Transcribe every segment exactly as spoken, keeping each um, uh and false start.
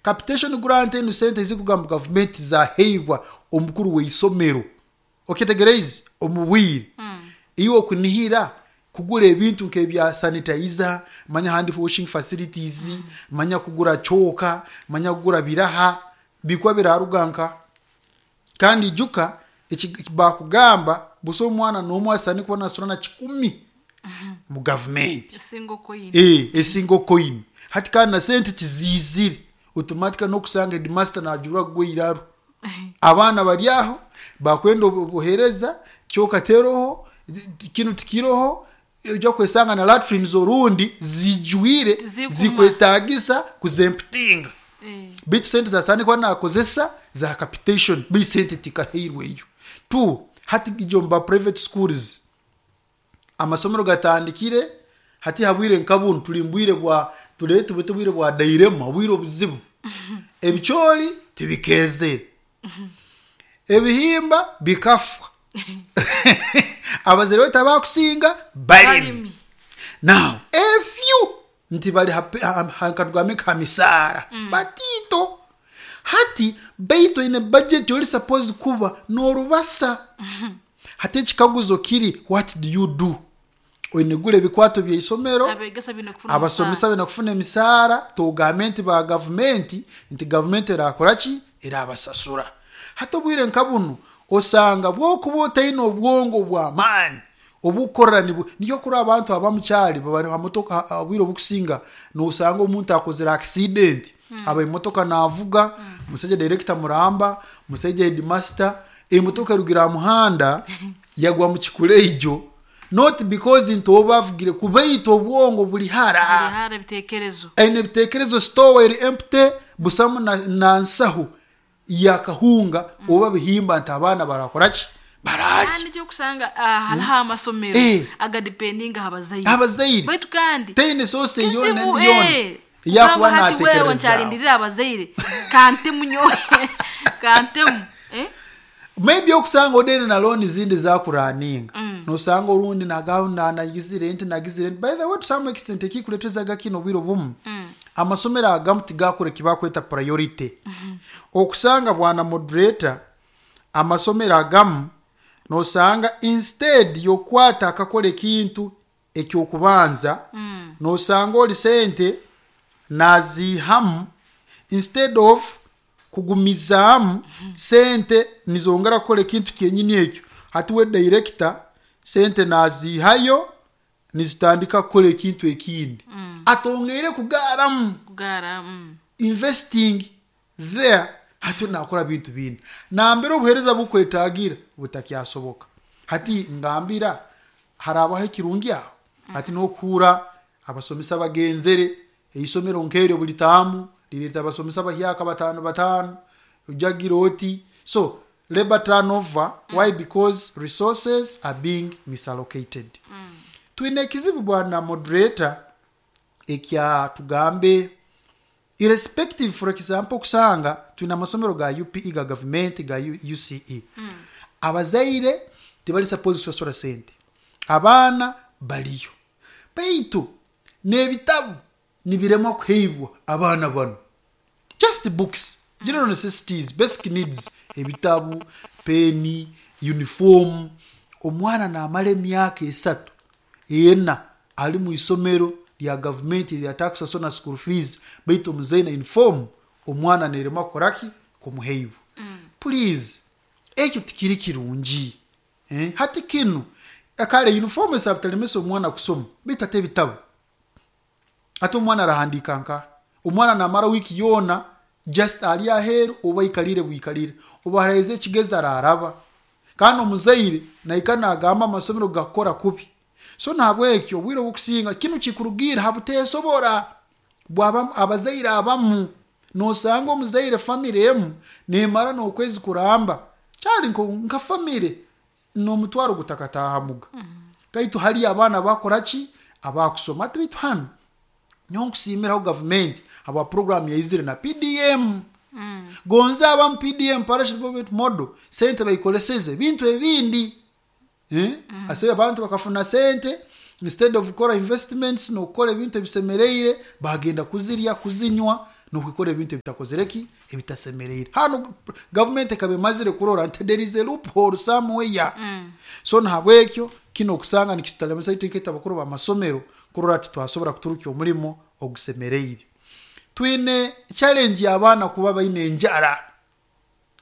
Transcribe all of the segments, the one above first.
Capitation grant enu sente ezikuruga mu gavumenti zaheibwa omukuru w'isomero, okyetegereize? Omu bwire iwe okunihira kugura ebintu nk'ebya sanitizer, manya hand washing facilities, manya kugura chalk, manya kugura biraha, bikuba biraruga nka? Kandi ijuka eki bakugamba, busaho omwana n'omu asaana kuba nasasura na kikumi mu gavumenti. Esingle coin. Eh, esingle coin. Hati kandi na sente tiziizire, automatically n'okusanga headmaster najurwa kugwa iraro. Abaana bari aho bakwenda obuheereza, kyoka teroho, kinu tikiroho. Ojja kwesanga na latrines orundi zijwire, Tizikumara. zikwetagisa kuzemputinga. Eh. Baitu sente zasaana kuba nakozesa za capitation, baitu sente tikaheirweyo. Two, hati ijo mba private schools, amasomero gatandikire hati habwire nka bunu, tuli mbwire bwa turete bwete bwire bwa dairema, obwire obuzibu. Ebicoori tibikezere, ebihimba bikafa, abazaire baitu abakusinga balimi. Balimi. Now a few nti bali katugambe nka misaara batito. Hati baitu oine budget, ori suppose kuba n'orubasa. Hati ekikaguzo kiri, what do you do? Oine gula ebikwato by'isomero. Abegesa bine kufuna. Abasomesa bine kufuna emisaara. Tugambe nti ba gavumenti, nti gavumenti erakora ki? Erabasasura. Hati obwire nka bunu osanga bwokuba otaine obwongo bw'amaani obukorera, niyo kuri abantu abamukyali baba ha motoka. Obwire obukusinga nosanga omuntu akozere accident, aba emotoka navuga, musaija director muramba, musaija headmaster, emotoka erugira aha muhanda yagwa mu kikureijo, not because nti oba avugire kubaitu obwongo buli hara. Hara ebitekerezo. Aine ebitekerezo, store eri empty, busamu na, na nsahu yakahunga oba bihimba nti abaana barakora ki? Bararya. Kandi ekyokusanga, ah, hariho amasomero Eh. agadependinga ha bazaire. Abazaire. Baitu kandi teine source yona kizibu, endi yona eh. eyakuba Kugamba hati wewe natekerezaaho. Nkyalindirira abazaire, kantemu nyowe kantemu, eh? Maybe okusanga odene na loan zindi zakuraninga, nosanga orundi nagamba nagizire nti nagizire nti. By the way, to some extent ekikuletezaga kino, obwire obumu amasomero agamu tigakora ekibakweta priority. Okusanga bwana moderator, amasomero agamu nosanga instead yokwata akakora ekintu ekyokubanza, nosanga oli sente naziihamu instead of kugumizaamu sente nizongera kukora ekintu kyenyini ekyo. Hati we director sente naziihayo nizitandika kukora ekintu ekindi, atongeire kugaaramu. Kugara mm. Investing there, hati nakora bintu bindi nambere obuheereza bukwetagira butakyasoboka. Hati ngambira harabaho ekirungi aho, hati nokuhura abasomesa bagenzere eisomero nkeryo buli taamu lireta abasomesa bahyaka batano batano, ojagira oti. So labor turnover, why? Because resources are being misallocated. Twine ekizibu, bwana moderator, ekya tugambe irrespective, for example okusanga twine amasomero ga U P E, ga gavumenti, ga U- UCE. Abazaire tibali suppose kusasura sente, abaana baliyo, baitu n'ebitabu nibiremwa kuheibwa abaana bano. Just books, general necessities, basic needs, ebitabu, peni, uniform. Omwana namara emyaka esatu, ena ali mu isomero lya gavumenti lyatakusasura na school fees, baitu omuzaire na uniform omwana nerema kukoraki? Kumuheibwa. Please, ekyo tikiri kirungi, eh? Hati kinu kale uniform esaba talemesa omwana kusoma, baitu ate ebitabu, ate omwana arahandika nka? Omwana namara wiiki yoona just ali aheeru oba aikalire bwikalire, oba haraheze ekigezi araraba, kandi omuzaire naika nagamba amasomero gakukora kubi. So nahabwekyo obwire obukusinga kinu kikurugiira ha buteesobora bwabamu abazaire abamu. Nosanga omuzaire famire emu nemara n'okwezi kuramba kyali nko- nka famire n'omutwaro gutakatahamuga kaitu hali abaana bakora ki? Abakusoma. Ati baitu hanu nyowe nkusiimiraho gavumenti habwa program yaizire na P D M. Gonza abamu P D M, parish development model, sente bayikoleseze bintu ebindi, eh? Ase abantu bakafuna sente, instead of kukora investments n'okukora ebintu ebisemereire, bagenda kuzirya, kuzinywa. Nokwikora ebintu ebitakozere ki, ebitasemereire. Hano gavumenti ekaba emazire kurora nti there is a loophole somewhere. Mm. So nahabwekyo kino okusanga nikitulemesa itwe nk'itwe abakuru b'amasomero kurora titwasobora kuturukya omulimo ogusemereire. Twine challenge y'abaana kuba baine enjara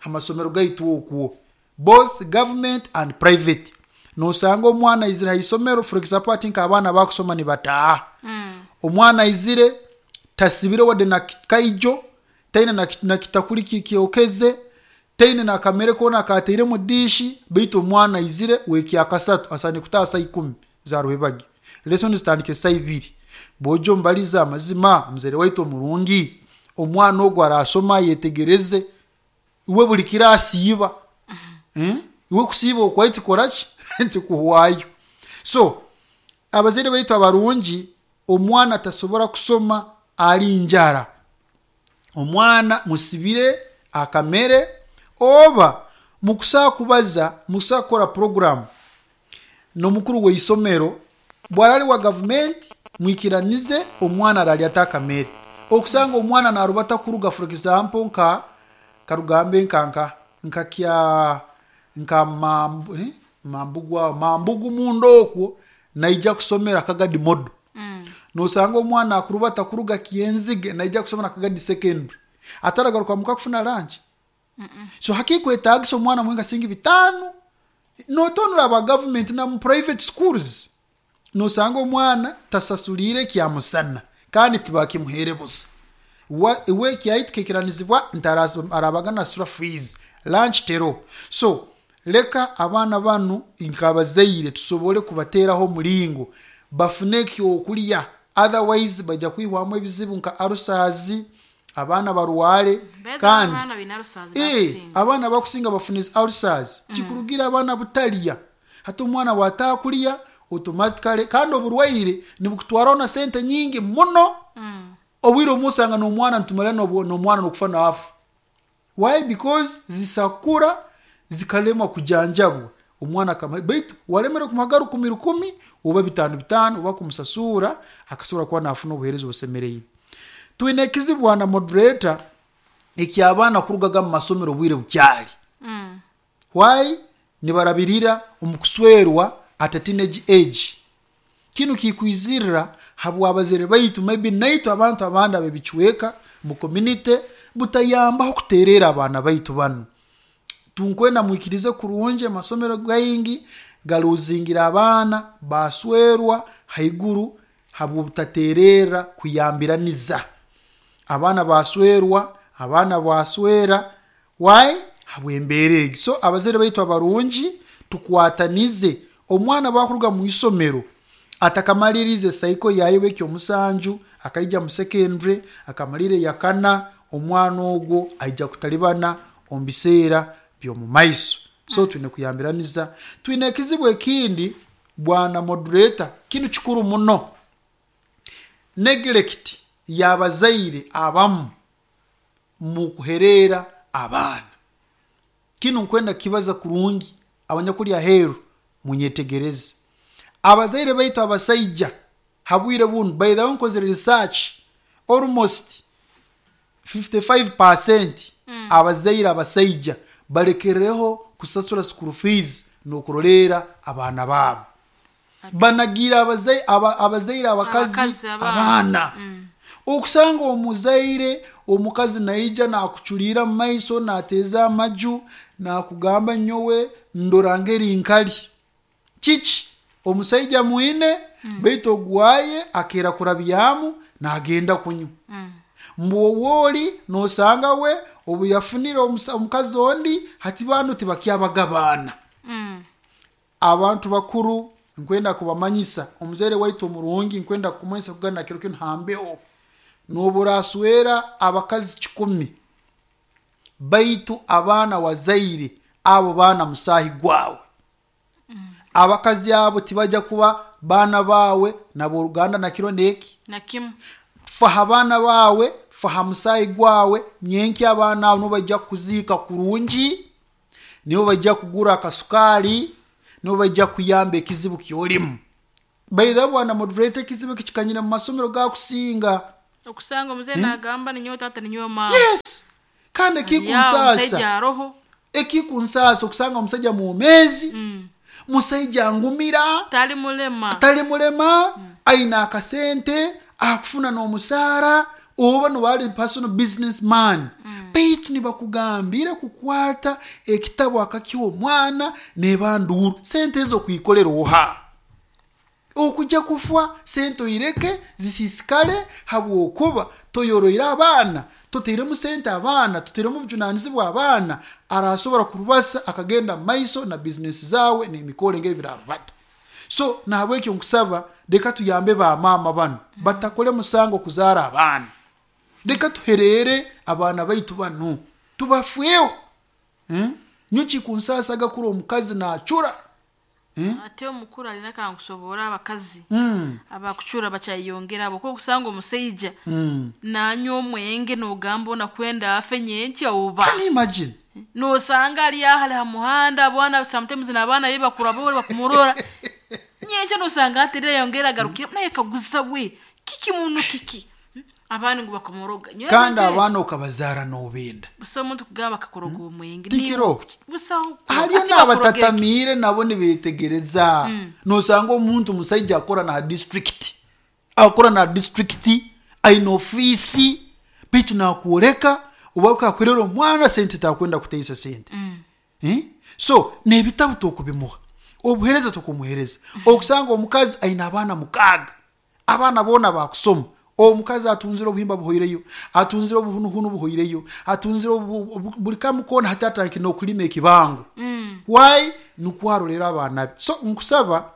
amasomero gaitu okwo, both government and private. Nosanga omwana aizire ha isomero, for example, ati nk'abaana bakusoma nibataaha. Mm. Omwana aizire tasibire wadde na kaijo, taine na, na kitakuli kikyokeze, taine nakamere koona kateire mu diishi, baitu omwana aizire wekyakasatu asaine kutaaha saa ikumi za rwebagi, lesson zitandike saa ibiri. Bwojja omubaliza amazima, muzaire waitu omurungi, omwana ogwo arasoma ayetegereze? Iwe buli kiro asiiba, eh? Iwe kusiiba okwai tikoraki, tikuhwayo. So abazaire baitu abarungi, omwana tasobora kusoma ali njara. Omwana musibire akamere, oba mukusaa kubaza, mukusaa kukora program n'omukuru w'isomero bwarali wa gavumenti, mwikiranize omwana aralya ata akamere. Okusanga omwana narubata kuruga, for example, nka karugambe nka nka nka kya nka mambu, eh? Mambugu mambugu mundo okwo naija kusomera Kagadi Model. Mm. Nosanga omwana akurubata kuruga Kyenzige naija kusomera Kagadi Secondary, ataragaruka muka kufuna lunch. Mm -mm. So hakikwetagisa omwana mwenga singi bitano notonora aba government na mu private schools. Nosanga omwana tasasulire kyamusana kandi tibakimuhere busa. Iwe kyaitu kekiranizibwa ntarabaga nasura fees, lunch tero. So leka abaana banu nkabazaire tusobole kubateraho omulingo bafune ekyokulya, otherwise bajja kwihwamu ebizibu nka arusazi, abaana barwale. Kandi eh, abaana bakusinga bafune ulcers. Mm. Kikurugira abaana butalya. Hati omwana bwatakulya automatically, kandi oburwaire nibukutwaraho na sente nyingi muno. Mm. Obwire omusanga n'omwana nitumara n'omwana n'okufa naafu. Why? Because zisakura zikalemwa kujanjabwa. Omwana kama baitu walemera kumuhaga rukumi rukumi oba bitano bitano oba kumusasura, akasobora kuba nafuna obuheereza obusemereire. Twine ekizibu na moderator eky'abaana kurugaga mu masomero obwire bukyali. Mm. Why? Nibarabirira omu kuswerwa at a teenage age. Kinu kikwizirira habw'abazaire baitu, maybe naitwe abantu abandi ab'ebicweka mu community butayambaho kuterera abaana baitu banu. Tunkwenda mwikirize kurungi, amasomero gaingi galuzingira abaana baswerwa haiguru habw'obutaterera kuyambiraniza. Abaana baswerwa, abaana baswera, why? Habw'embeera egi. So abazaire baitu abarungi tukwatanize. Omwana bakuruga mu isomero atakamalirize saiko yaye w'ekyomusanju, akaija mu secondary, akamalire yakana, omwana ogwo aija kutalibana omu biseera by'omu maiso. So twine kuyambiraniza. Twine ekizibu ekindi bwana moderator, kinu kikuru muno. Neglect y'abazaire abamu mu kuherera abaana. Kinu nkwenda kibaza kurungi abanyakuli aheeru munyetegereze. Abazaire baitu abasaija habwire bunu, by the way nkozere research, almost fifty-five percent Mm. abazaire abasaija balekereho kusasura school fees n'okurolera abaana baabo. Banagira abazaire, aba, abazaire abakazi Abakazi, abaana. abaana. Mm. Okusanga omuzaire omukazi naija nakuculira mu maiso, nateeza amaju, nakugamba nyowe ndora ngeri nkali. Kiki? Omusaija mwine, Mm. baitu ogwaye akera kurabyamu nagenda kunywa. Mm. Mbwowooli nosanga we obu yafunire omusa-, omukazi ondi, hati bano tibakyabagabaana. Mm. Abantu bakuru nkwenda kubamanyisa, omuzaire waitu omurungi nkwenda kumanyisa kugana kiro kinu hambeho. Noburaswera abakazi kikumi, baitu abaana wazaire abo baana musahi gwawe. Mm. Abakazi abo tibajja kuba baana bawe naboruganda na kiro neki na kimu. Faha abaana bawe, faha musahi gwawe, nyenki abaana abo nibo bajja kuziika kurungi, nibo bajja kugura akasukari, nibo bajja kuyamba ekizibu kyolimu. By the way, bwana moderator, ekizibu eki kikanyire mu masomero gakusinga. Okusanga omuzeyi nagamba, ninyowe tata, ninyowe mama. Yes, kandi ekikunsaasa, omusaija aroho. Ekikunsaasa okusanga omusajja mwomeezi, Mm. musaija ngumira, tali mulema, tali mulema, aina akasente, akufuna n'omusaara, oba nobali personal business man, baitu nibakugambira kukwata ekitabo akakiha omwana nebanduru. Sente ezo kwikolera oha? Okujja kufa sente oireke zisisikale habwokuba toyoroire abaana, toteiremu sente abaana, toteiremu obujunanizibwa abaana. Arasobora kurubasa akagenda mumaiso na bizinesi zawe n'emikoro ng'ebirarubata. So nahabwekyo nkusaba, leka tuyambe bamaama bano batakole musango kuzaara abaana. Leka tuherere abaana baitu bano, tubafweho, eh? Nyo kikunsasaga kuri omukazi nacura, eh? Ate omukuru alina kankusobora abakazi mm. abakucura bakyayongera abo, okusanga omusaija mm. nanywa omwenge, nogamba onakwenda afe nyenkya oba. Can you imagine? Nosanga ali ahali ha muhanda, bwana, sometimes n'abaana be bakura bo bakumurora nyenkya, nosanga aterera yongera agarukire naye kaguza we kiki muntu kiki. Hmm? Abaana ngu bakamuroga. Nyowe kandi ebintu abaana okabazaara nobenda. Busa omuntu kugamba akakoroga omwenge. Tikiro. Busaho. Hariyo Ati bakuroga eki? n'abatatamiire nabo nibetegereza. Nosanga omuntu musaija akora na district, akora na district, aine ofiisi, baitu nakwoleka oba kakwerera omwana sente, takwenda kuteisa sente, eh? So n'ebitabu tokubimuha, obuhereza tokumuhereza. Okusanga omukazi aine abaana mukaaga, abaana boona bakusoma, omukazi atunzire obuhimba buhoireyo, atunzire obuhunuhunu buhoireyo, atunzire obu- obu- buli kamu koona, hati atandikire n'okulima ekibango. Why? Nukwarolera abaana be. So nkusaba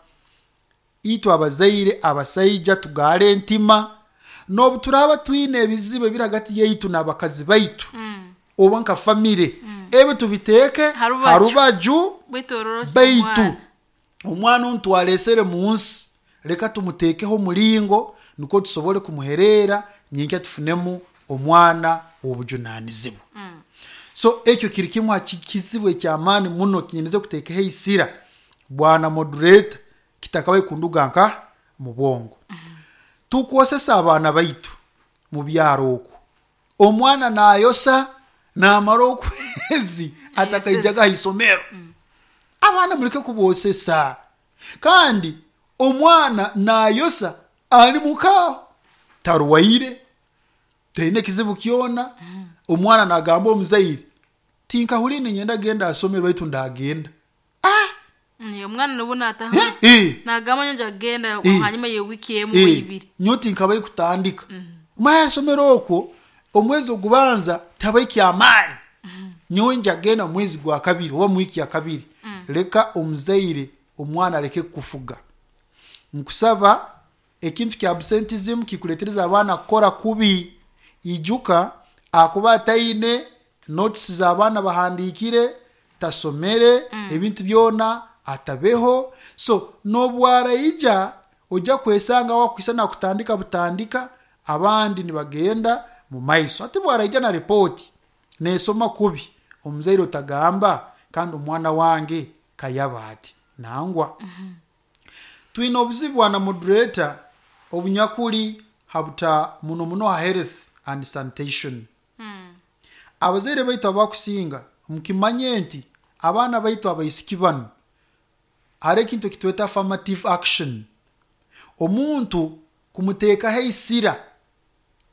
itwe abazaire abasaija tugaale entima. N'obu turaba twine ebizibu ebiri hagati yaitu n'abakazi baitu oba nka famire, ebi tubiteeke Harubaju. Harubaju. Bwitororo. Baitu omwana onu twalesere mu nsi, leka tumuteekeho omulingo nukwo tusobole kumuherera nyenkya tufunemu omwana ow'obujunanizibwa. So ekyo kiri kimu ha ki- kizibu ekyamaani muno kinyinize kuteekaho eisira, bwana moderator, kitakabaye kunduga nka mu bwongo. Tukwosesa abaana baitu mu byaro okwo, omwana nayosa namara okwezi atakaijaga ha isomero. Abaana muleke kubosesa. Kandi omwana nayosa ali mukaaho, tarwaire, taine ekizibu kyona. Omwana nagamba omuzaire, tinkahuriire ninyenda genda asomero, baitu ndagenda. Ah! Omwana nubu nataha Eh, eh. nagamba nyonja kugenda Eh. hanyuma y'ewiki emu Eh, ibiri. Nyo tinkabaye kutandika mwasomero okwo omwezi ogubanza tabaye kyamaani, nyowe njagenda mwezi gwa kabiri oba mu wiiki ya kabiri. Leka omuzaire omwana aleke kufuga. Nkusaba, ekintu kya absentism kikuletereza abaana kukora kubi. Ijuka akuba ataine notes z'abaana bahandikire, tasomere, ebintu byona atabeho. So nobwaraija ojja kwesanga wakwisa nakutandika butandika, abandi nibagenda mu maiso. Ate bwaraija na ripoti nesoma kubi, omuzaire otagamba kandi omwana wange kayaba ati nangwa. Twine obuzibu, bwana moderator, obunyakuli habuta muno muno ha health and sanitation. Abazaire baitu abakusinga mukimanye nti abaana baitu abaisiki bano, hari ekintu ekitweta affirmative action, omuntu kumuteekaho eisira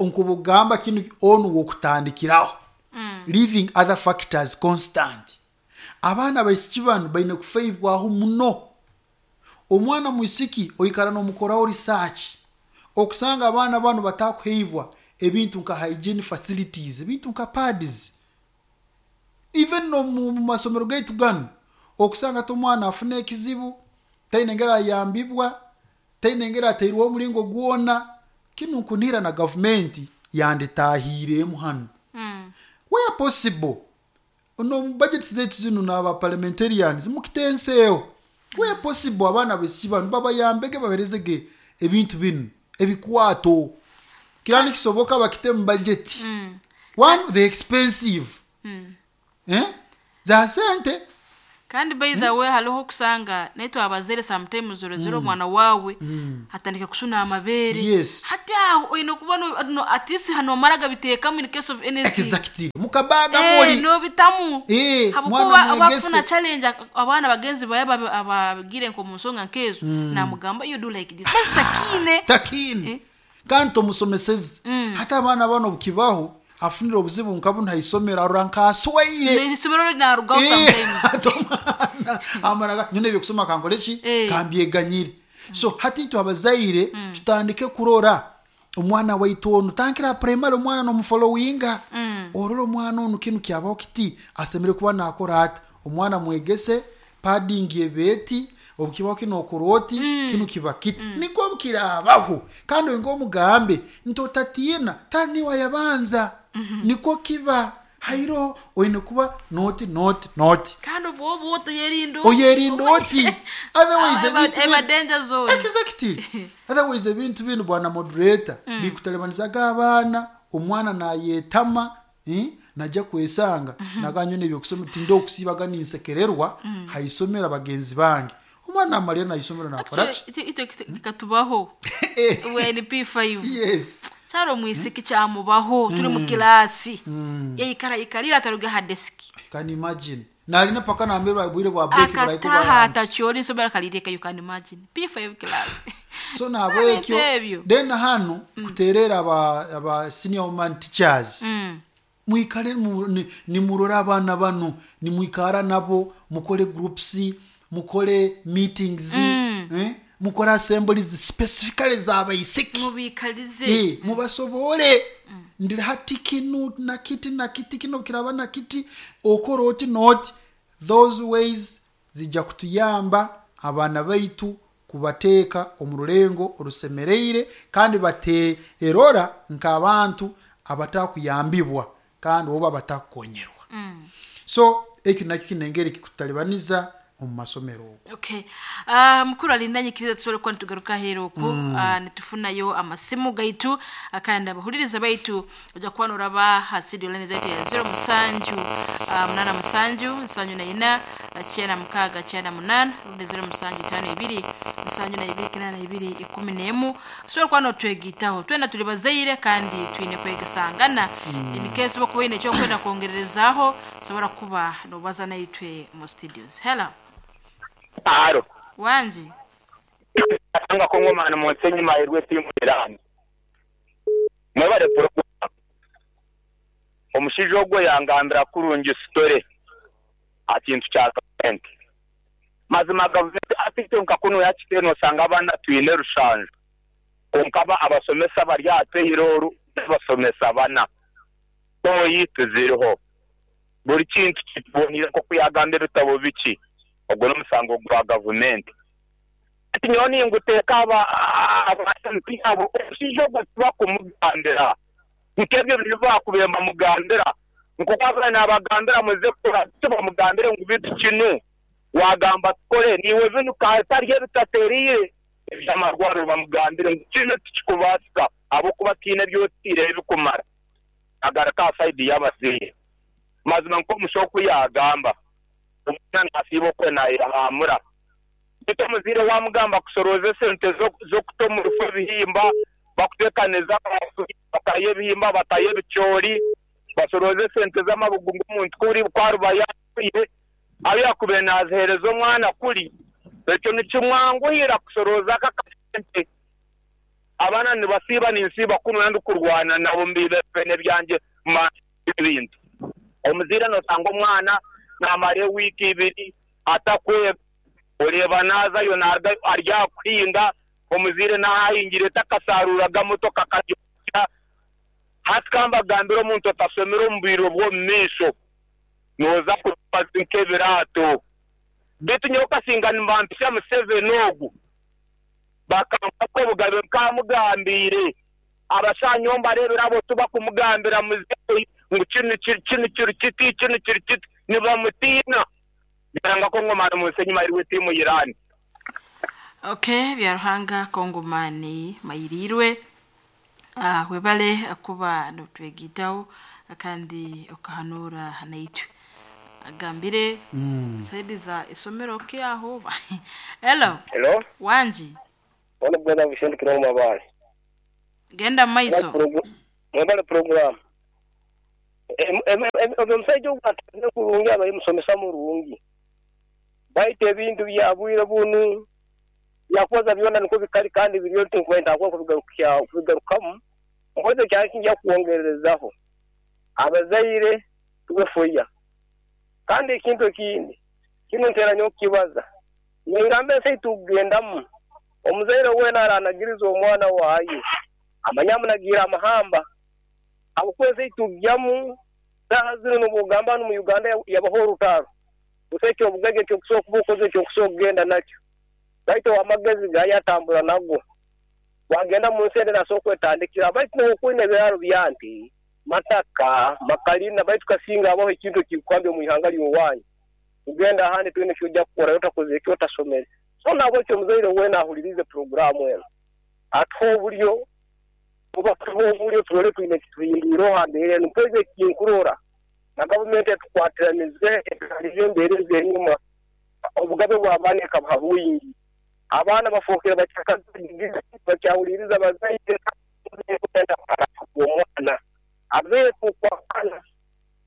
nkubugamba kinu onu wokutandikiraho, leaving other factors constant. Abaana abaisiki bano baine kufaibwaho muno. Omwana mwisiki oikara nomukoraho research, okusanga abaana bano batakuheibwa ebintu nka hygiene facilities, ebintu nka pads. Even no mu mu masomero gaitu gano, okusanga ti omwana afuna ekizibu, taine engeri ayambibwa, taine engeri ateirweho omulingo gwona. Kinu nkunihira na gavumenti yanditahiiremu hano, where possible, no mu budget zaitu zinu n'aba parliamentarians mukitenseeho, where possible, abaana baisiki bano babayambege, baberezege ebintu binu ebikwato. Kira nikisoboka bakite mu budget. One, the expensive, eh? Za sente. Kandi by the way, hariho kusanga naitwe abazaire sometimes orozire omwana wawe atandika kusuna amabere. Yes. Hati aho oine kuba no, no, at least hano omara gabiteekamu in case of anything. Exactly, mukabaga Eh, muli nobitamu. Eh, Habwokuba mwana mwegese. abafuna challenge, abaana bagenzi baye babe- abagire nko mu nsonga nkezo, namugamba, "You do like this," basi takine. Takini. Eh. Kandi tomusomeseze. Hati abaana bano obukibaho afunire obuzibu nkabu nhaisomero arora nkaswaire. Isomero linarugaho Eh, sometimes. hati omwana amara nyona ebyokusoma kankole ki? Eh. Kambyeganyire. So hati itwe abazaire tutandike kurora omwana waitu onu tankira primary, omwana nomufollowinga, orora omwana onu kinu kyabaho kiti, asemere kuba nakora ati. Omwana mwegese padding ebeeti, obukibaho kino okora oti, kinu kiba kiti, nikwo bukirabaho. Kandi oinga omugambe nti otatiina, tali niwe yabanza, nikwo kiba hairo oine kuba noti noti noti. Kandi obwo obwo toyerinda. Oyerinda oti, otherwise ebintu eba bino- danger zone. Exactly, otherwise ebintu bino, bwana moderator, bikutalibanizaga abaana. Omwana nayetama, eh, najja kwesanga naganyo nebyokusoma tinde okusiibaga ninsekererwa haisomero bagenzi bange. Omwana amalira naisomero nakora ki? Ito ito kikatubaho we ni P five. Yes. Cyari omwisiki kyamubaho turi mu kilasi, yayikara yikarira ataruga ha desk. Can imagine, nalina paka nambere bwire bwa break buraiko Akataha bwa lunch. atacyora isomero akarireka. You can imagine, P five class. So nabwekyo ebyo. Then hano kuterera aba, aba senior woman teachers, Mm. mwikale mu- ni- nimurore abaana bano, nimwikara nabo, mukole groups, mukole meetings, eh, mukole assemblies specifically z'abaisiki. Mubikalize. Eh, mubasobole ndiri hati kinu nakiti nakiti kino kiraba nakiti, okora oti noti. Those ways zijja kutuyamba abaana baitu kubateeka omu rulengo orusemereire, kandi bateerora nk'abantu abatakuyambibwa kandi oba batakukonyerwa. So ekyo nakyo kinengeri kikutalibaniza omu masomero ogo. Okay. uh, mukuru alinda, nyikiriza tusobole kuba nitugaruka aheeru oku mm. uh, nitufunayo amasimu gaitu, uh, kandi abahuliriza baitu ojja kuba noraba ha studio line zaitu ya zero musanju uh, munana musanju nsanju na ina uh, kyenda mukaaga kyenda munana, rundi zero musanju tano ibiri nsanju na ibiri kinana na ibiri ikumi n'emu. Tusobole kuba notwegitaho twena tuli bazaire kandi twine kwegesangana mm. In case bokuba oine ekyokwenda kwongererezaaho, sobola kuba nobaza naitwe mu studios. Hello. Aro. Wanji. Anga kongomana munsenyi mahirwe timuirani mwebale program. Omushaija ogwo yangambira kurungi story akintu kya gavumenti. Mazima gavumenti afite nka kuno yakite, nosanga abaana twine rushanju, konka aba abasomesa bari aha payroll basomesa bana toyi tuziriho, buri kintu kitubonire nkoku yagamba ebitabo biki. Ogwo n'omusango gwa gavumenti. Ati nyowe ninguteeka aba aba M P abo, omushaija ogwo tibakumugambira nk'ebyo bintu bakubire bamugambira nkoku abaana nabagambira muze kukora, tibamugambire ngu bitu kinu wagamba tukore niwe binu katari ebitateriire ebyamarwariro, bamugambire ngu kinu tikikubaasika ahabwokuba tiine ebyotiire ebikumara. Agaruka aha side y'abazaire, mazima nk'omushaho oku yagamba, omwana nasiiba okwe nayehamura, beitu omuzaire wamugamba kusorooza esente z'okuta omu rufu ebihimba, bakuteekaniza batayo ebihimba, batayo ebicoori, basorooze esente z'amabugu ng'omuntu kuri kwaruba yafiire abu yakubaire naziheereza omwana kuri, ekyo nikimwanguhira kusorooza aka akasente. Abaana nibasiiba, ninsiiba kunu ndikurwana nabo mubibene byangye ebintu. Omuzaire nosanga omwana namara ewiiki ibiri atakwega, oreeba nazayo narugayo ari aha kuhinga, omuzaire nahahingire takasaruraga motoka akagyokya. Hati kambagambire, omuntu otasomire omu bwire bw'omu maisho nooza kuba nk'ebiraato. Beitu nyowe kasinga nibampisha Museveni ogu bakampa obugabe nkamugambiire abashanyo mbareebera abo tubakumugambira muzeeyi ngu kinu kiri kinu kiri kiti kinu kiri kiti, nibamutiina. Byaranga kongomani munsenyi mahirwe tiimu Irani. Okay, Byaruhanga Kongomani mayirirwe. uh, webale kuba notwegitaho kandi okahanura naitwe. Agambire mm. Saidi za isomero ke aho. Hello. Hello. Wanji. Wana bwana Vicente Kiroma mabale. Genda maiso. Mwebale program. Em em omusajja ogwatandika kurungi abayi musomesa murungi. Baite ebintu byabwire bunu yakoza byona niko bikali kandi biriyo tinkwenda akwa kubigarukya kubigarukamu. Mpoze kyankinja kuongerezaho. Abazaire tubefoya. Kandi ekintu ekindi kino ntera nyo kibaza. Ngambe se tugendamu. Omuzaire wena aranagiriza omwana waye. Amanyamunagira amahamba. Abukweze tugyamu sahazino n'obugamba no mu Uganda yabaho rutaro. Useke obugege cyo kusoka kubukoze cyo kusogenda nakyo. Baito amagezi gayatambura nago. Wagenda mu nsende nasoko etandikira baitu n'okwine biraro byanti mataka makalina baitu kasinga abaho ekintu kikwambye mu ihanga lyowanyu. Ugenda ahandi twine kyojja kukora yotakoze ekyo otasomere. So nabo cyo muzaire wena ahulirize programu eno. Atho bulyo kuba bulyo turole twine kituyindiro hambere npoze kinkurora. Na government etukwatiranize etuhalize embere zenyuma obugabe bw'abaana ekabaha bwingi. Abaana bafokera bakyakazi bakyawuliriza bazaire omwana abeere kukwakana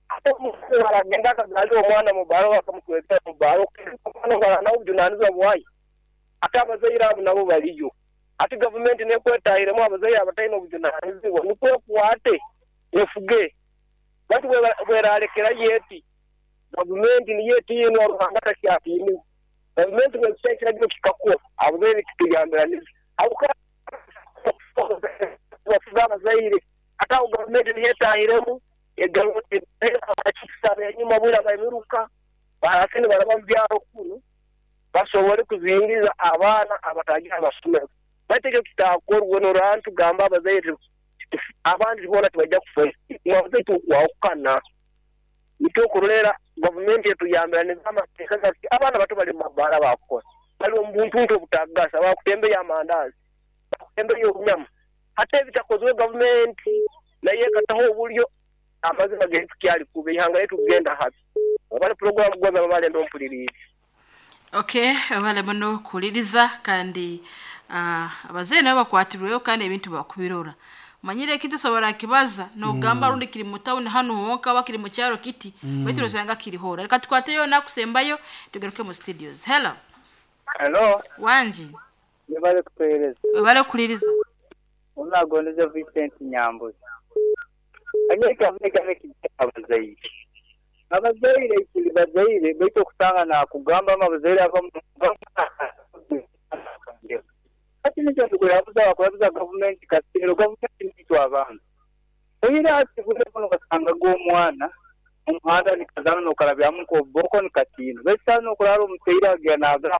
ate omukazi baragenda akagamba omwana mu baro bakamutweta mu baro omwana barana obujunanizibwa bwayo ate abazaire abo nabo baliyo ate gavumenti nekwetahiremu abazaire abatalina obujunanizibwa nikwo ekwate efuge batu bweralekera yeti gavumenti niyo etiinwa Ruhanga takyatiiniwe. Gavumenti bwekisa ekiragiro kikakuwa abazaire kituyambiraniza bafuga abazaire ate aho gavumenti niyo etahiremu egaruka enyuma bwira bamiruka barasini baraba mu byaro kunu basobole kuzingiza abaana abatagira amasomero. Baitu ekyo kitakorwa norora tugamba abazaire abandi bona tibajja kufa mwabazaire tukwawukana nikyo kurolera gavumenti etuyambiraniza amateeka gati abaana bato bali mu mabaara bakukosa bali omu buntuntu obutagasa bakutembeya amandazi bakutembeya obunyama ate ebitakozwe gavumenti naye ekataho obulyo amazima gaitu kyali kuba ihanga letu kugenda habi. Obale programu gwaza babale ndo mpulirize. Okay, abale muno kuliriza kandi uh, abazeire nabo bakwatirweyo kandi ebintu bakubirora. Manyire ekintu sobora kibaza nogamba mm. Rundi kiri mu town hano wonka bakiri mu cyaro kiti mm. Baitu nosanga kiri hora. Reka tukwateyo nakusembayo tugaruke mu studios. Hello. Hello. Wanji. Nibale kupereza. Bale kuliriza. Unagondeza Vincent Nyambuzi. Anyeka meka meki abazaire. Abazaire ikili bazaire baitu okusanga na kugamba abazaire abamu ati nikyo tukurabuza bakurabuza gavumenti kasiro gavumenti nitu abantu. Oyira ati kuno kasanga g'omwana omuhanda nikazana nokarabyamu koboko nikatino. Baitu nokurara omuteira agenda nagamba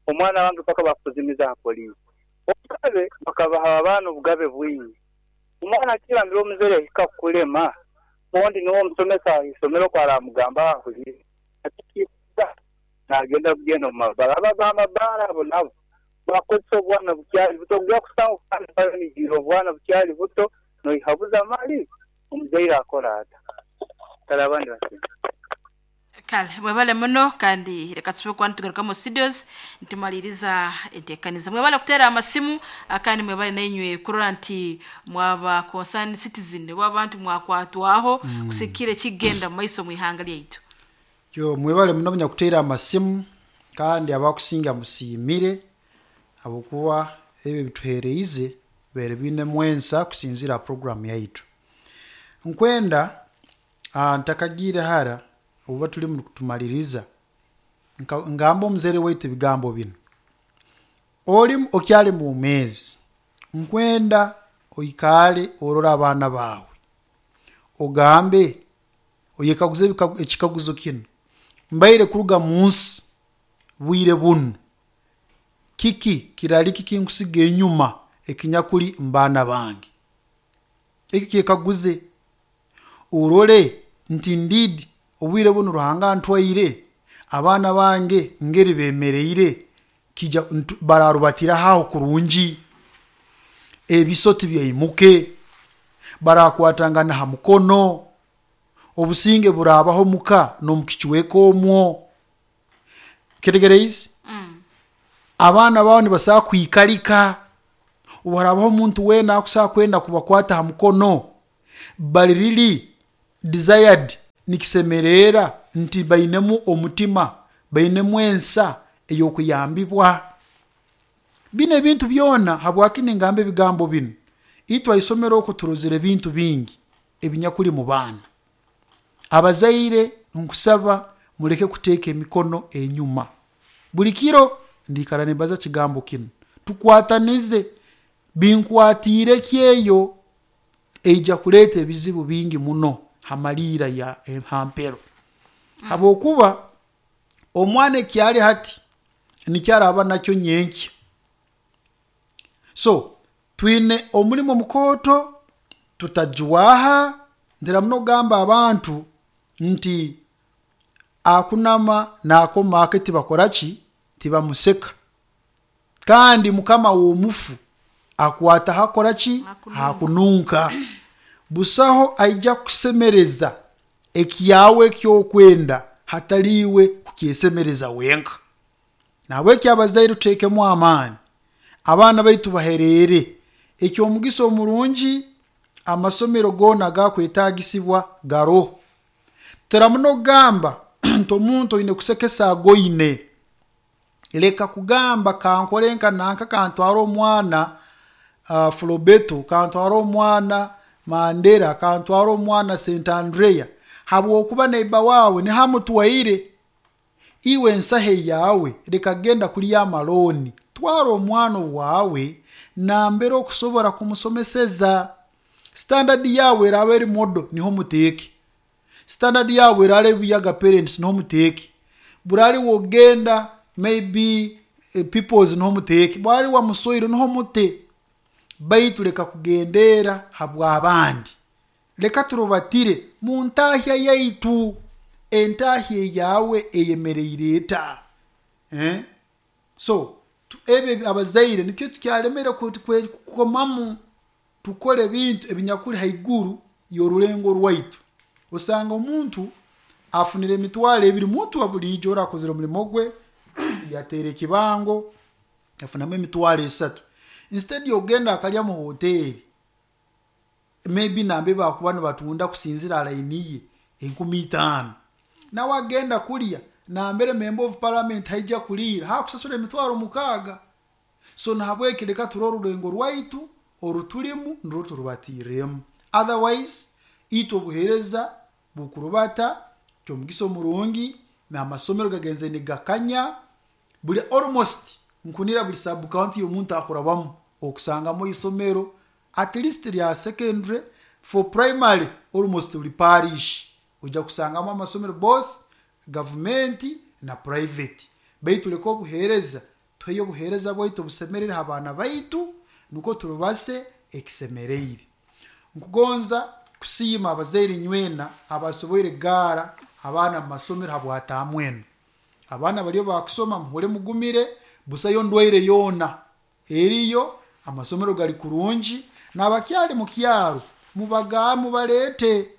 omwana wange paka bakuzimiza ha polisi. Obugabe bakabaha abaana obugabe bwingi. Omwana akirambira omuzaire ahika kukulema ondi niwo omusomesa isomero kwaramugamba ahulire. Ati nagenda kugenda omu mabara ababaha amabara abo nabo bakozesa obwana bukyali buto ogya kusanga obwana obwana bukyali buto noihabuza mali omuzaire akora ata. Kale abandi basinga. Kale mwebale muno kandi reka tusube kuba nitugaruka mu studios ntumaliriza enteekaniza. Mwebale kutera amasimu kandi mwebale nainywe kurora nti mwaba concerned citizen bw'abantu mwakwatwaho mm. Kusikire kigenda mu maiso mu ihanga lyaitu. Yo mwebale muno munyakutera amasimu kandi abakusinga musiimire abukuba ebyo bituhereize bere bine mwensa kusinzira program yaitu. Nkwenda ntakagire hara oba tuli mu kutumaliriza ngamba omuzere waitu ebigambo bino. Oli okyali mu mezi nkwenda oikale orora abaana bawe ogambe oyekaguze ekikaguzo kino mbaire kuruga munsi bwire bunu kiki kirali kiki nkusiga enyuma ekinyakuli mbana bange. Eki kyekaguze urole nti ndidi obwire bunu Ruhanga ntwaire abaana bange ngeri bemereire kija bararubatira haho kurungi ebisoti byaimuke barakwatangana ha mukono Obusinge burabaho muka n'omukichweka omwo. Kitegereize? Mm. Abaana bawe nibasobola kwikalika. Obwarabaho omuntu weena akusobola kwenda kubakwata ha mukono, bali really desired, nikisemerera nti bainemu omutima, bainemu ensa ey'okuyambibwa. Bino ebintu byona habwaki ningamba ebigambo binu? Itwe aisomero oku turozere ebintu bingi ebinyakuli mu baana. Abazaire nkusaba muleke kuteeka emikono enyuma. Buli kiro ndikara nimbaza kigambo kinu, tukwatanize. Binkwatiire ki eyo eija kuleeta ebizibu bingi muno hamaliira ya hampero, habwokuba omwana ekyali hati nikyo araba nakyo nyenkya. So twine omulimo mukooto, tutajwaha. Ntera muno kugamba abantu nti akunama naakoma ake tibakora ki, tibamuseka. Kandi mukama w'omufu akwata hakora ki, hakununka. Busaho aija kusemereza ekyawe ekyokwenda hataliiwe kukyesemereza wenka. Nahabweki abazaire tuteekemu amaani, abaana baitu bahereere. Ekyomugisa omurungi, amasomero goona agakwetaagisibwa garoho. Tera muno kugamba nti omuntu oine kusekesa agoine. Leka kugamba kankore nka nanka, kantwara omwana uh, Frobeto, kantwara omwana Mandera, kantwara omwana Saint Andrea, habwokuba neiba wawe nihamutwaire. Iwe ensahe yawe leka genda kulya amaloni, twara omwana wawe nambere okusobora kumusomeseza. Standard yawe eraba eri modo, niho muteeke. Standard yawe eraba eri Buyaga parents, niho muteeke. Burali wogenda maybe eh, peoples, niho muteeke. Bwali wamusoire, niho mute. Baitu leka kugendera habw'abandi, leka turubatire mu ntahya yaitu. Entahya eyawe eyemereire eta? Eh? So ebyo abazaire nikyo tukyalemere kukomamu, tukole ebintu ebinyakuli haiguru y'orulengo rwaitu. Osanga omuntu afunire emitwaro ebiri, muntu wa buliijo ora akozere omulimo gwe yateera ekibango yafunamu emitwaro esatu, instead yokugenda akalya mu hoteri maybe nambe bakuba nibatunda kusinzira layini ye enkumi itaano, nawe agenda kulya nambere member of parliament haija kuliira hakusasura emitwaro mukaaga. So nahabweki leka turore orulengo rwaitu orutulimu nirwo turubatiiremu. Otherwise itwe obuheereza bukurubata kyomugisa omurungi, n'amasomero gagenze nigakanya buli almost nkunira buli sub county y'omuntu akurabamu okusangamu isomero at least lya secondary. For primary almost buli parish ojja kusangamu amasomero, both gavumenti na private. Baitu leka obuheereza tuheyo obuheereza bwaitu obusemerere ha baana baitu, nukwo turubase ekisemereire. Nkugonza kusiima abazaire nywena abasoboire kugaara abaana mu masomero habwataamu enu. Abaana bariyo bakusoma, muhule mugumire, busayo ndwaire yoona eriyo, amasomero gali kurungi. N'abakyali mu kyaro mubaga mubaleete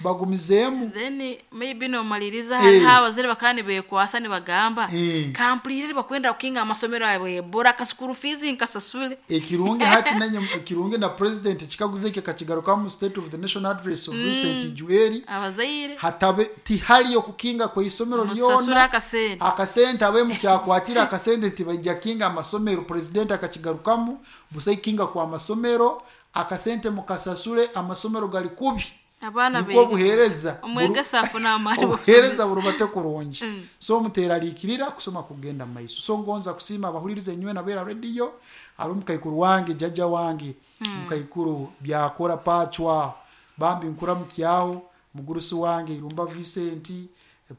bagumizeemu. Then maybe nomaliriza, Eh. hariho abazaire bakaba nibekwasa nibagamba, Eh. kampulire bakwenda kukinga amasomero awe bora ka school fees nkasasule. Ekirungi hati nanye ekirungi na president kikaguzo ekyo kakigarukamu mu state of the nation address of recent jueri, abazaire hatabe tihaliyo kukinga kw'isomero musasule lyona akasente. Akasente abe mukyakwatira akasente tibaija kinga amasomero. President akakigarukamu, busa ikinga kwa masomero, akasente mukasasule, amasomero gali kubi. Abaana Nibwo bege. obuheereza Omwegesa afuna amaani. Obuheereza burubate kurungi. Mm. So muteraliikirira, kusoma kugenda mu maiso. So ngonza kusiima abahuliriza enywe nabeera rediyo. Hari omukaikuru wange, jjajja wange mukaikuru byakora pacwa, bambi nkuramukyaho. Mugurusi wange Irumba Vincent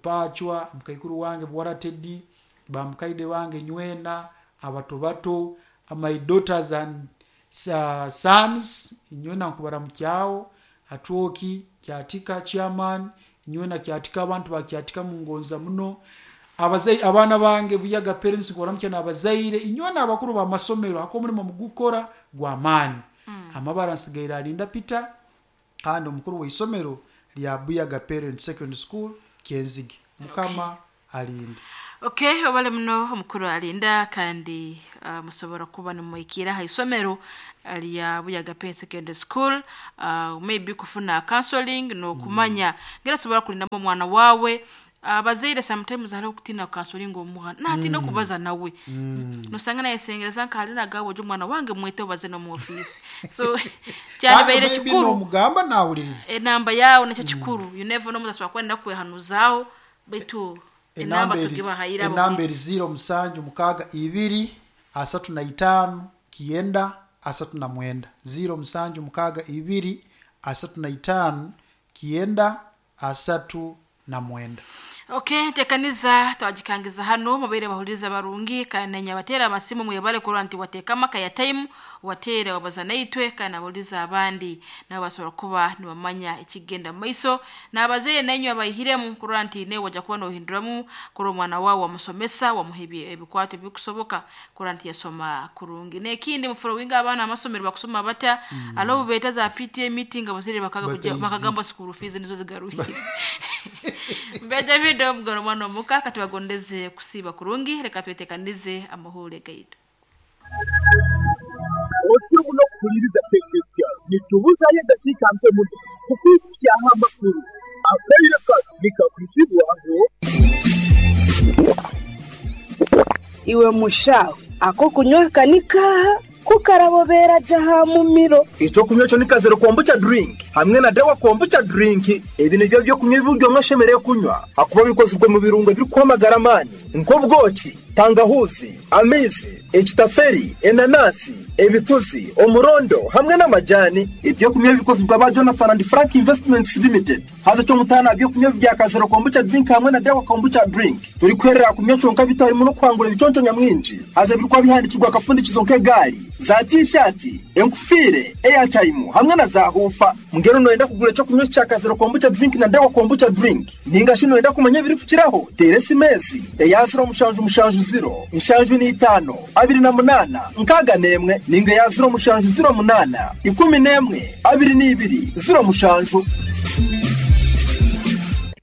pacwa, mukaikuru wange Bwara Teddy, bamukaide bange nywena, abato bato, my daughters and uh, sons nywena nkubaramukyaho. Atwoki Kyatika chairman nywena Kyatika, abantu bakyatika mungonza muno. Abazai abaana bange Buyaga parents nkubaramukya, n'abazaire inywena abakuru b'amasomero hako omulimo mugukora gw'amaani. Amabara nsigaire alinda Peter, kandi omukuru w'isomero lya Buyaga Parent Secondary School Kyenzige. Mukama alinde. Okay, obale muno omukuru alinda kandi uh, musobora kuba nimwikira ha isomero lya Buyaga Parent Secondary School, uh, maybe kufuna counseling n'okumanya ngera sobola kulindamu omwana wawe. Abazaire sometimes hariho okutina counseling omwana natina okubaza nawe, nosanga nayesengereza nka nagawe ojo omwana wange mwete obaze n'omu office, so kyalibaire kikuru n'omugamba nawuliriza enamba yawe nakyo kikuru. You never know, omuntu asobora kwenda kwehanuzaho baitu enamba tugibahayira enamba eri ziro musanju mukaaga ibiri asatu na itaano kienda asatu na mwenda, ziro musanju mukaaga ibiri asatu na itaano kienda asatu na mwenda. Okay, tekaniza twajikangiza hano mubeire bahuriza barungi kandi nyabatera amasimu mwebale kurwa nti wateka maka ya time watere wabaza naitwe kandi aburiza abandi nabo basobora kuba nibamanya ekigenda maiso n'abazeire nenyu abayihiremu kurwa nti newe wajja kuba nohinduramu kurwa omwana wawe wamusomesa wamuha ebikwato ebikusoboka kurwa nti yasoma kurungi. N'ekindi mufollowinga abaana amasomero bakusoma bata mm. Alo beta za P T A meeting abazeire bakaga kujja bakagamba school fees nizo zigaruhire. Mbe David omugoro mwana omuka katubagondeze kusiba kurungi reka twetekanize amahule gaitu. Otimu no kuhuliriza tekesya nitubuzayo dakika mpe muno kukwikyaho amakuru akaire kano nikakwizibwaho. Iwe mushawe ako kunywa kanika kukarabobera jaha mumiro. Ico kunywa cyo nikazero kombucha drink hamwe na dawa kombucha drink. Ebi nibyo byo kunywa ibiryo mwashemereye kunywa akuba bikozwe mu birungo biri kwamagara mani nk'ubwoki, tangahuzi, amizi, ekitaferi, enanasi, ebituzi, omurondo hamwe n'amajani. Ibyo kunywa bikozwe ba Jonathan and Frank Investments Limited. Haza cyo mutana byo kunywa bya kazero kombucha drink hamwe na dawa kombucha drink. Turi kwerera kunywa conka bitarimo no kwangura ibiconco nyamwinji. Haza birikwa bihandikirwa akafundikizo nk'egari, za t-shirt, enkufire, airtime hamwe na za hufa. Mugero noenda kugura cyo kunywa cya kazero kombucha drink na dawa kombucha drink. Ninga shino enda kumanya biri kukiraho. Teresi mezi, eyaziro mushanju mushanju zero, inshanju ni itano, abiri na munana, nkaga nemwe, ninga ya zero mushanju zero munana, ikumi nemwe, abiri n'ibiri, zero mushanju.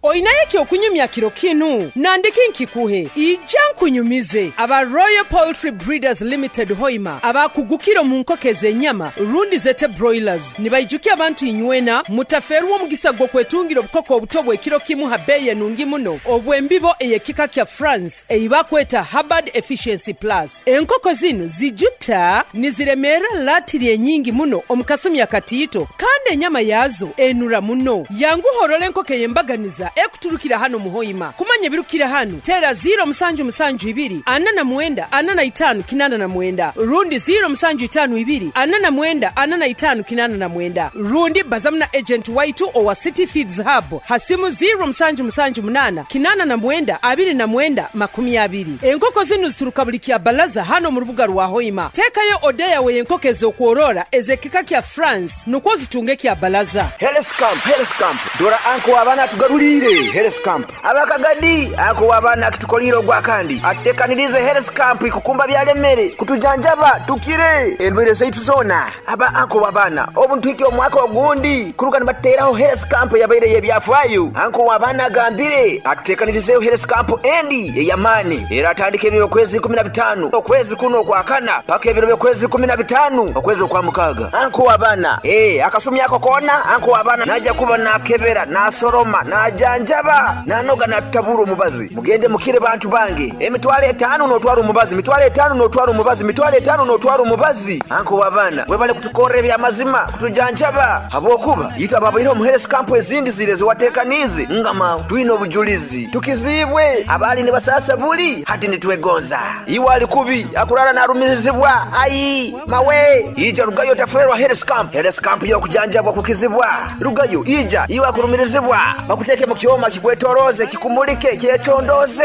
Oinaye okunyumya kiro kinu nandiki nkikuhe ija nkunyumize aba Royal Poultry Breeders Limited Hoima abakugukiro mu nkoko ez'ennyama rundi zete broilers nibaijukia abantu inywena mutaferwa omugisa gw'okwetungira obukoko obuto bw'ekiro kimu ha beeye nungi muno obw'embibo ey'ekika kya France eibakweta Hubbard Efficiency Plus. Enkoko zinu zijuta niziremera latiri enyingi muno omukasumi akatiito kandi enyama yazo enura muno. Yanguhorole enkoko ey'embaganiza ekuturukira hano muhoima. Kumanya birukira hano tera zero musanju musanju ibiri ana na mwenda ana na itanu kinana na mwenda rundi zero musanju itanu ibiri ana na mwenda ana na itanu kinana na mwenda rundi bazamna agent waitu owa City Feeds Hub hasimu zero musanju musanju munana kinana na mwenda abiri na mwenda makumi abiri. Enkoko zinu zituruka buli kya balaza hano mu rubuga rwa Hoima. Tekayo odeya we enkoko ez'okworora ezekika kya France nukwo zitunge kya balaza. Health Camp, Health Camp dora anko abana tugarulire Health Camp abakagadi ako abana kitukoliro gwa kandi atekanirize Health Camp ikukumba byalemere kutujanjaba tukire endwere zaitu zona aba anko abana obuntu iki omwaka ogundi kuruka nibateraho Health Camp yabaire yebyafayo anko abana gambire atekanirize Health Camp endi eyamani era atandike ebiro kwezi kumi na bitano okwezi kuno kwa kana paka ebiro kwezi kumi na bitano okwezi kwa mukaga anko abana eh akasumi yako kona anko abana naja kuba nakebera nasoroma najanjaba nanoga natabura omubazi mugende mukire bantu bange emitwale etano notwara omubazi mitwale etano notwara omubazi mitwale etano notwara omubazi anko wabana webale kutukorera ebyamazima kutujanjaba habwokuba yita babaire omu Health Camp ezindi zire ziwatekanize ngama twine obujulizi tukizibwe abali ne basasa buli hati nitwegonza iwe ali kubi akurara narumirizibwa ayi mawe ija rugayo taferwa Health Camp Health Camp yo kujanjabwa kukizibwa rugayo ija iwe akurumirizibwa bakuteke mu Kyoma kikwetoroze kikumulike kyecondoze.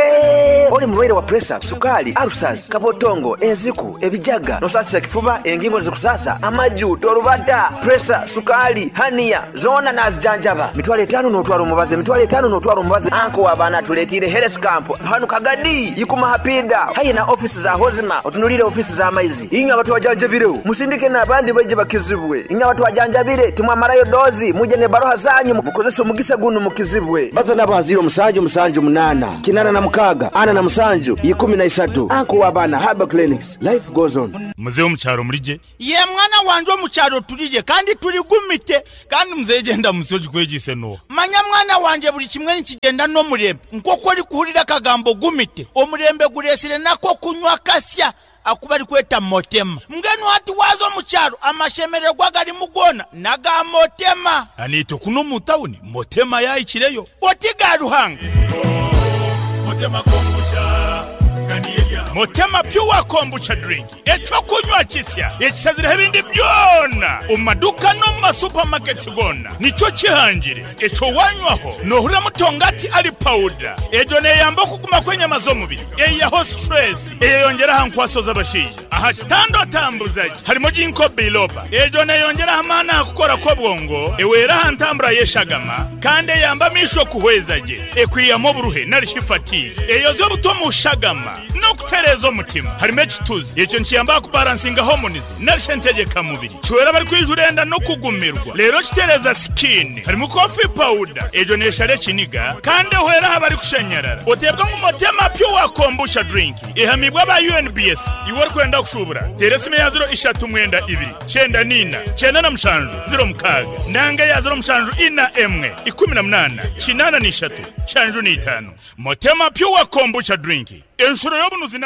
Oli mulwaire wa pressure, sukali, ulcers, kabotongo, enziku, ebijaga, nosasira kifuba, engingo zikusasa, amaju, torubata, pressure, sukali, hania, zona nazijanjaba. Mitwalo etano n'otwala omubazi, mitwalo etano n'otwala omubazi. Anko w'abaana tuleetire Health Camp. Hano Kagadi, yikuma hapida. Hayi na ofisi za Hozima, otunulire ofisi za maizi. Inywe abatwajanjabireho, musindike n'abandi baije bakizibwe. Inywe abatwajanjabire, timwamarayo dozi, muje ne baroha zanyu, mukozese omugisa guno mukizibwe. Baza nabo haziro musanju musanju munana, kinana na mukaga, ana na musanju, ikumi na isatu. Anko w'abaana Herbal Clinics. Life goes on. Muzehe omukyaro mulije? Ye mwana wanje omukyaro tulije kandi tuligumite kandi muzehe genda musoji kwegise no. Manya mwana wanje buli kimwe nikigenda n'omurembe nk'oku orikuhurira akagambo gumite omurembe guresire nako kunywa kasya akuba ari kweta motema mbwenu hati waza omukyaro amashemererwa garimu gona naga motema. Anito kuno mu tawuni motema yayikireyo oti ga Ruhanga. Motema kombucha Motema Pure Kombucha Drink ekyokunywa kisya ekishazireho ebindi byona omu maduka no mu masupamaketi gona nikyo kihangire ekyo wanywaho nohurira mutongati ali powder egyo neyamba okuguma kw'enyama z'omubiri eyaho stress eyeyongera aha nkwaso z'abashaija aha kitanda otambuzaje harimo ginkgo biloba egyo neyongera amaani aha kukora kw'obwongo ewera aha ntambura y'eshagama kandi eyamba amisho kuhweza gye ekwiyamu oburuhe narishi fatigue eyoza obuto mu shagama no kutereza omutima harimo ekituzi ekyo nkiyamba kubalansinga hormones narishe ntegeka mubiri kiwera bari kwijurenda no kugumirwa rero kitereza skin harimo coffee powder egyo neshare kiniga kandi ehwera aha bari kushanyarara otebwa ngu Motema Pure Kombucha Drink ihamibwa ba U N B S iwe ori kwenda kushubura tere esimu ya ziro ishatu mwenda ibiri cyenda nina cyenda na mushanju ziro mukaga nanga ya ziro mushanju ina emwe ikumi na munana kinana n'ishatu shanju n'itanu. Motema Pure Kombucha Drink enshuro y'obunuzi.